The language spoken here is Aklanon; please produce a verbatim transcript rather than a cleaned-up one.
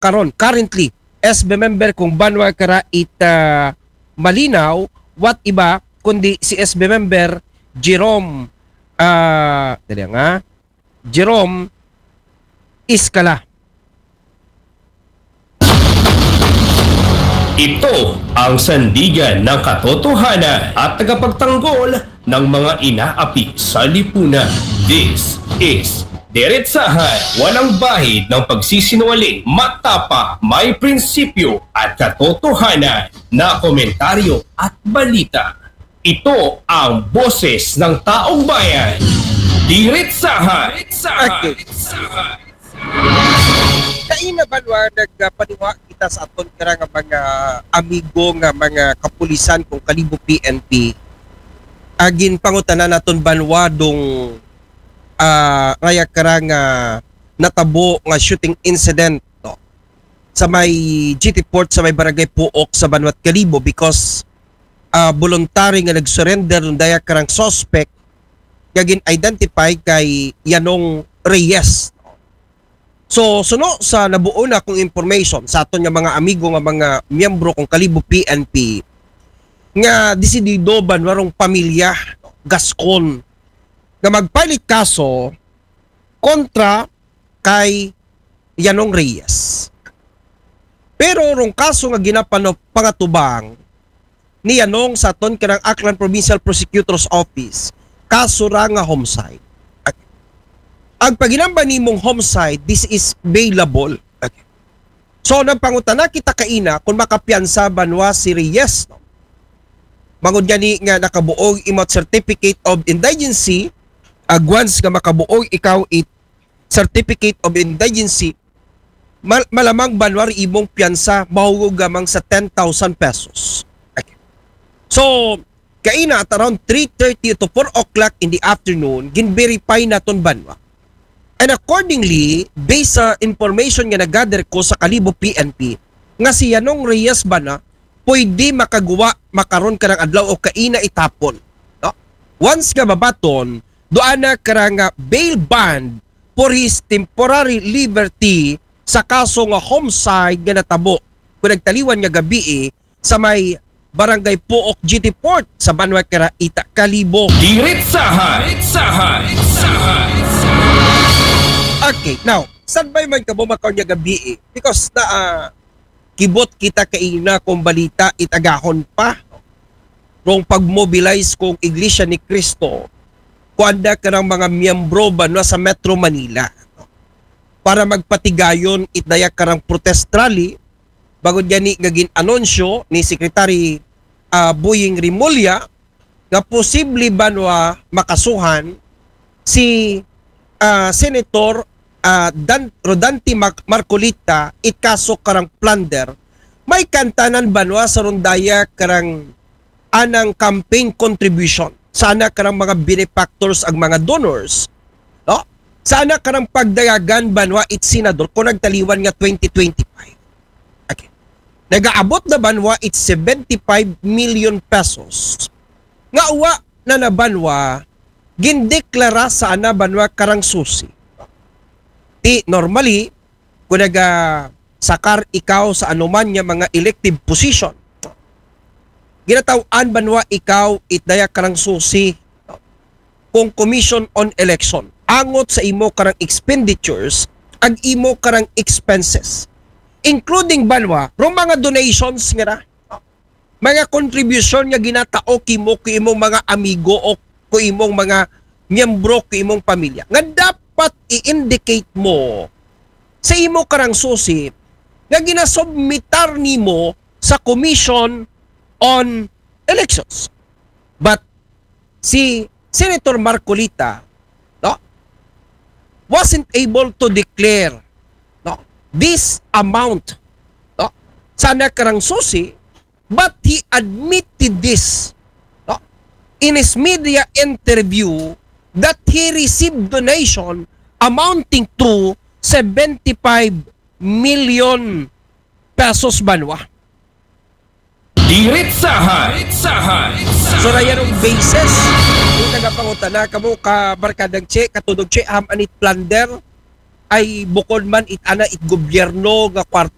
karon, currently, S B member kung banwa kara it, ah, Malinaw, what iba, kundi si S B member Jerome, ah, dali nga, Jerome Iskala. Ito ang sandigan ng katotohanan at tagapagtanggol ng mga inaapi sa lipunan. This is Diretsahan, walang bahid ng pagsisinungaling, matapang, may prinsipyo at katotohanan na komentaryo at balita. Ito ang boses ng taong bayan. Diretsahan. Okay. Kaina banwa nagpaniwa kita sa aton kara nga mga amigo nga mga kapulisan kung Kalibo P N P. Agin pangutanan naton banwa dong, ah, raya kara nga natabo nga shooting incident, no, sa may G T Port sa may Barangay Puok sa Banwat Kalibo because, ah, voluntary nga nag-surrender dong daya karang suspect nga gin-identify kay Yanong Reyes. So, suno sa nabuo na kong information sa aton nga mga amigo nga mga miyembro kung Kalibo P N P, nga desidido banwa rong pamilya Gascon nga mag-file kaso kontra kay Yanong Reyes. Pero rong kaso nga ginapangatubang ni Yanong sa aton kanang Aklan Provincial Prosecutor's Office, kaso ra nga homicide. Ag paginamba nimong homicide, this is bailable. So, nagpangutana kita kaina kung makapiyansa banwa si Reyes, no? Bangod gani nga nakabuog imo certificate of indigency, ag once nga makabuog ikaw it certificate of indigency, mal- malamang banwa ri imong piyansa mahugog gamang sa ten thousand pesos. Okay. So, kaina at around three thirty to four o'clock in the afternoon, gin-verify naton banwa. And accordingly, based sa information nga nag-gather ko sa Kalibo P N P, nga si Yanong Reyes bana pwede makaguwa makaron karang adlaw o kaina it hapon. No? Once nga mabaton, duana kara nga bail bond for his temporary liberty sa kaso nga homicide nga natabo kung nagtaliwan nga gabii sa may Barangay Puok G T Port sa banwa kara ita Kalibo. Diretsahan. Diretsahan. Diretsahan. Okay, now, standby man kamo makaron nga gabii because na, ah, kibot kita kaina kung balita it agahon pa rong pag-mobilize kung Iglesia ni Cristo kuan da karang mga miyembro banwa sa Metro Manila para magpatigayon it daya karang protest rally bangod gani nga gin-anunsyo ni Secretary, ah, Boying Remulla nga posible banwa makasuhan si, ah, Senator, ah, Dan- Rodante Mac- Marcoleta it kaso karang plunder. May kantanan banwa sa rondaya karang anang campaign contribution sana karang mga benefactors ag mga donors, no? Sana karang pagdayagan banwa it senador kung nagtaliwan nga twenty twenty-five. Okay. Nagaabot na banwa it seventy-five million pesos nga uwa na na banwa gindeklara sana banwa karang susi. Ti normally kung naga sakar ikaw sa anuman nga mga elective position, ginataw-an banwa ikaw it daya karang susi kung Commission on Election angot sa imo karang expenditures ag imo karang expenses, including banwa rong mga donations nga na mga contribution nga ginatao kimo ku imong mga amigo o ku imong mga miyembro ku imong pamilya nga dapat i-indicate mo sa imo karang susi nga ginasubmitar nimo sa Commission on Elections. But si Senator Marcoleta, no, wasn't able to declare, no, this amount, no, sana karang susi, but he admitted this, no, in his media interview that he received donation amounting to seventy-five million pesos banwa. Diretsahan. Diretsahan. So, na yan ang basis. Kung nagapangutana kamo ka barkadang Che, katudog Che, ham anit plunder. ay bukon man it ana it gobyerno nga kwarta